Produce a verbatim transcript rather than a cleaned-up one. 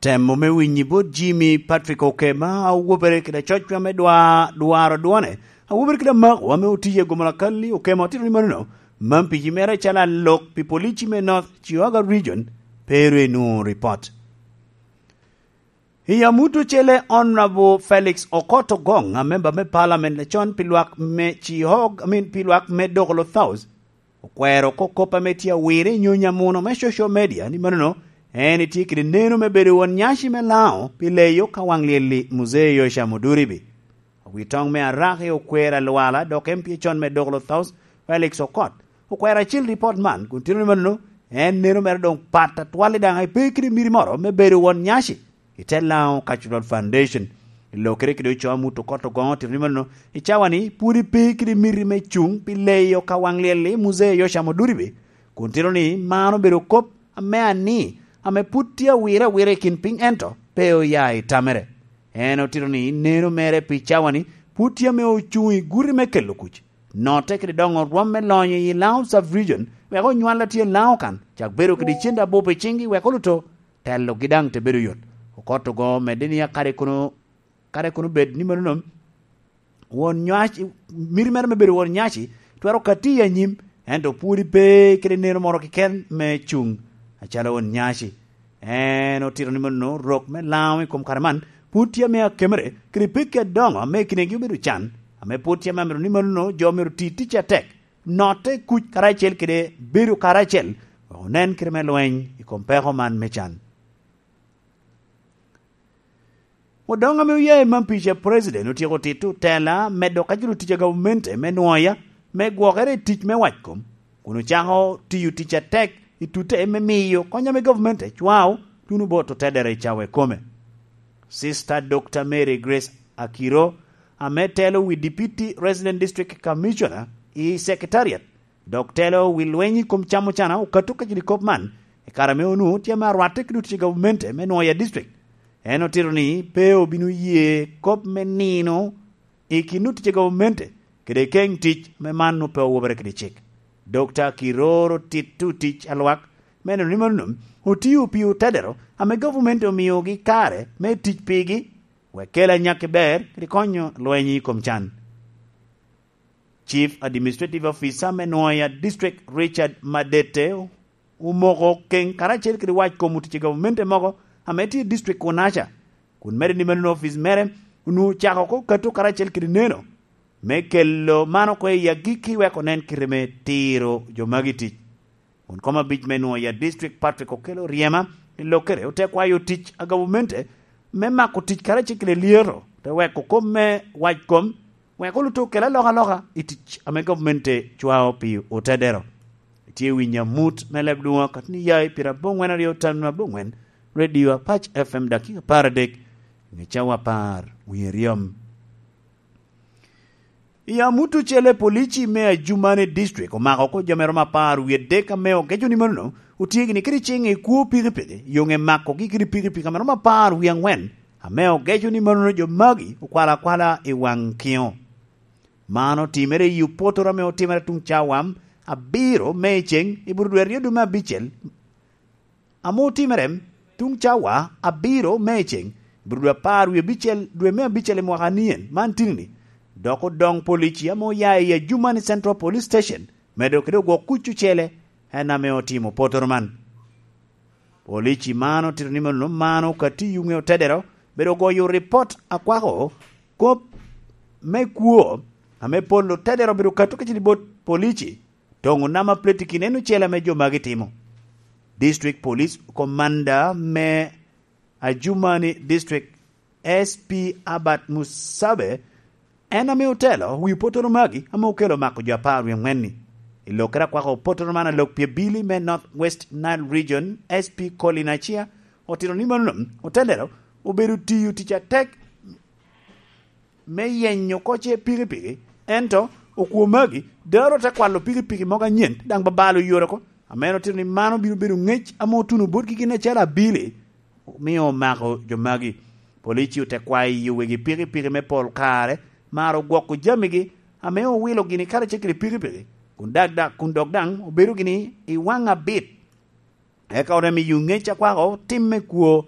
Temo me winyi bot Jimmy Patrick Okema, a owobere kede acocwa me dwa-, dwaro dwone, a owobere kede amako ame otiye gomo lakalli Okema otito ni manono, man pigi mere calo alok pi polici me North Chihuahua Region, pe ru enwoŋo ripot. I amut ocele, Honorable Felix Okot Ogong, a member me Parliament acon pi lwak me Chihog, I mean, pi lwak me Dokolo South, okwero oko kop ame tye awire i nyonyo amuno me social media ni manono en etye kede neno me bedo won nyaci me Lango pi leyo ka waŋ lyel-li Muzee Yosha Muduribi. Wi toŋ me Araki okwero alwala dok M P acon me Dokolo South, Felix Okot, okwero acil ripot man kun tito ni manono en neno mere doŋ pat atwal i daŋ pe kede miri moro me bedo won nyaci i te Lango Cultural Foundation. I lokere kede ocoo amut Okot Ogong otito ni manono i cawa-ni pwod pe kede miri me cuŋ pi leyo ka waŋ lyel-li Muzee Yosha Muduribi, kun tito ni man obedo kop ame ani, ame pwod tye awire awire i kin piny, ento pe oya i tamere. En otito ni neno mere pi cawa-ni pwod tye ame ocuŋ i guti me kelo kuc, notte kede doŋo rwom me lonyo i Lango Sub-Region, wek onywal a tye Lango kan, cak bedo kede cente abup i ciŋgi, wek oluto telogi daŋ te bedo yot. Okot Ogong omedde ni akade kono, kade kono bed ni manono, won nyaci, miti mere me bedo won nyaci twero kati i anyim, ento pwod pe kede neno moro keken me cuŋ acalo won nyaci. En otito ni manono rok me Lango i kom kare man pwod tye ame akemere kede pekki adoŋo ame kinegi obedo can, ame pwod tye ame amito ni manono jo myero ti tic atek, notte kuc karacel kede bedo karacel, wek onen kite me lweny i kom peko man me can. Odoŋ ame oya i Mampica, President otyeko tito tela medo kacito tic a gavamente me nwoya me gwokere i tic me wackom, kun ocako tiyo tic atek i tute me miyo kony ame gavamente cwao tuno bot otedere i cawa ikome. Sister Doctor Mary Grace Akiro, ame telo wi Deputy Resident District Commissioner i Secretariat, dok telo wi lweny i kom cam ocana, okato kacel i kop man, i kare ame onwoŋo tye ame arwatte kede otye gavamente me Nwoya District. En otito ni pe obino ye kop me nino i kin otye gavamente kede keŋ tic me man pe owobere kede cik. Dokta Kiroro tito tic alwak me neno ni mano otio pi otedero ame gavamente omiogi kare me tic pigi, wek kel anyakki ber kede konyo lweny i kom can. Chief Administrative Officer me Nwoya District, Richard Madete, omoko keŋ karacel kede wac kom otic i gavamente mogo ame tye i district kunaca, kun medo ni meno ofic mere onwoŋo ocako oko kato karacel kede neno me kelo man oko i agikki wek onen kite me tiro jo magi tic. Won kom abic me Nwoya District, Patrick Okello Ryema, i lokere ote kwayo tic a gavamente me mako tic karacel kede lyeto, te weko kop me wac kom, wek oluto okel alokaloka i tic ame gavmente cwao pi otedero. Itye winyo amut me leb lwoŋo akatni ya i pira aboŋwen aryo tam aboŋwen, Radio Apac F M, dakika apar adek, ŋe cawa apar wie ryom. I amut ocele, polici me Ajumani District omako oko jo me romo apar wie adek ame ogeco ni manono otye gini kede ciŋ i kwo pikipiki, yoŋe makogi kede pikipiki ame romo apar wie aŋwen, ame ogeco ni manono jo magi okwalo akwala i waŋ kiŋo. Man otimere i opotoro ame otimere tuŋ cawa abiro me i ceŋ i Burudwe aryo dwe me abicel, ame otimere tuŋ cawa abiro me i ceŋ, Burudwe apar wie abicel dwe me abicel i mwaka anien man tini-ni, dok odoŋ polici ame oya i Ajumani Central Police Station medo kede ogwok kuc ocele, en ame otimo potoro man. Polici man otito ni mano mano ka tiyo ŋe otedero bedo goyo ripot akwako kop me kwo ame pol otedero bedo kato kacel i bot polici, toŋo nama pleti kine en ocele ame jo magi timo. District Police Commander me Ajumani District, S P Albert Musabe, en ame otelo wi potoro magi ame okelo mako jo apar wie aŋwen-ni. I lokere akwako potoro man, alok pi abili me North West Nile Region, S P Colin Achia, otito ni mano otelo obedo tiyo tic atek me yenyo oko ce pikipiki, ento okwo magi daro te kwalo pikipiki mogo anyen, daŋ babalo yore oko. Amen otito ni mano bino bedo ŋec ame otuno botgi gin acel abili, omio omako jo magi. Polici ote kwayo wegi pikipiki me pol kare mar ogwoko jamigi ame owilo gini karacel kede pikipiki, kun dag-, dag-, kun dok daŋ obedo gini i waŋ abit. Eka ote miyo ŋec akwako tim me kwo